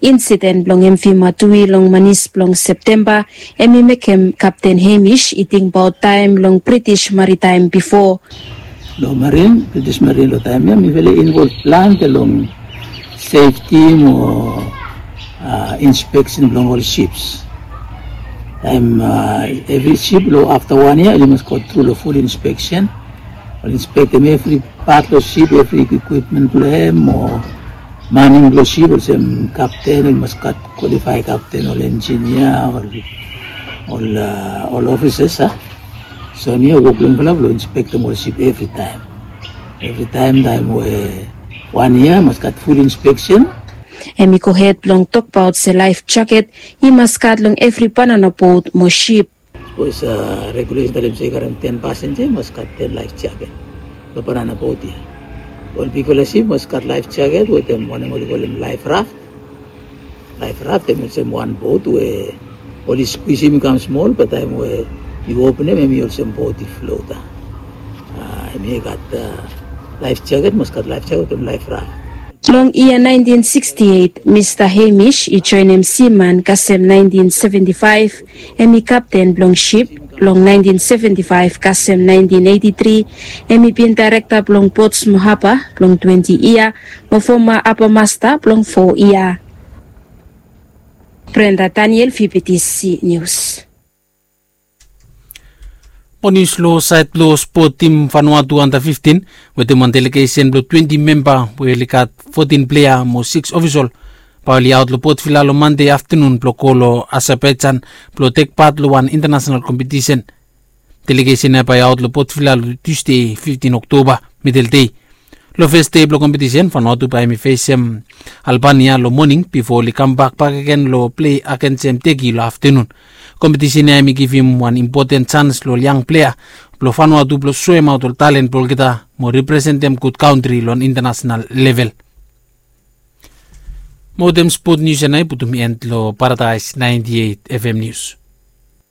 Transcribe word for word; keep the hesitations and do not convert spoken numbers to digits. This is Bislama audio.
Insiden blong MV Matui long manis blong Septemba, em i mekem Kapten Hamish i tingbaot taem long British Maritime bifo. Long marin, British Marin long taem ya mifala i involv plante long sefti mo inspeksen blong ol sips. Taem evri sip long afta wan yia oli mas go tru long ful inspeksen. Oli inspektem evri pat blong sip, evri ekwipmen blong hem o maning blong sip, olsem kapten oli mas gat kwalifaed kapten, ol enjinia, ol ol ofisas a. So niau wok blong yufala blong inspektem ol sip evritaem. Evritaem taem we wan yia mas gat ful inspeksen. Em i gohed blong tokbaot se laef jaket i mas gat long evri banana bot mo sip. Sapos regulesen talem se i karem ten pasenja i mas gat ten laef jaket long banana bot ya. Ol bigfala sip mas gat laef jaket wetem wanem oli kolem laef raf. Laef raf em olsem wan bot we oli skwisim i kam smol, be taem we yu openem em i olsem bot i flota. Em i gat laef jaket, mas gat laef jaket wetem laef raf. Long yia naentin siksti eit, Mista Hemish i joenem siman kasem naentin seventi faef. Em i kapten blong sip long naentin seventi faef kasem naentin eiti tri. Em i bin daerekta blong Portsmouth Haba blong twenti yia mo foma haba masta blong fo yia. Brenda Daniel, V B T C News. Mo nius long saed blong spot tim Vanuatu anda fiftin wetem wan delegesen blong twenti memba we oli gat fotin plea mo siks ofisol bae oli aot long Port Vila long Mande aftanun blong go long Azerbaijan blong tek pat long wan intanasenal kompetisen. Delegesen ya bae i aot long Port Vila long Tusde fiftin Oktoba midel dei. Long fes dei blong kompetisen Vanuatu bae hem i fesem Albania long moning bifo oli kambak bakegen long plei agensem Teki long aftanun. Kompetisen ya hem i givim wan impoten jans long ol yang plea blong Vanuatu blong soemaot ol talen blong olgeta mo representem gud kantri long intanasenal level. Mo wetem spot nius ya nao i putum en long Paradaes naenti eit FM Nius.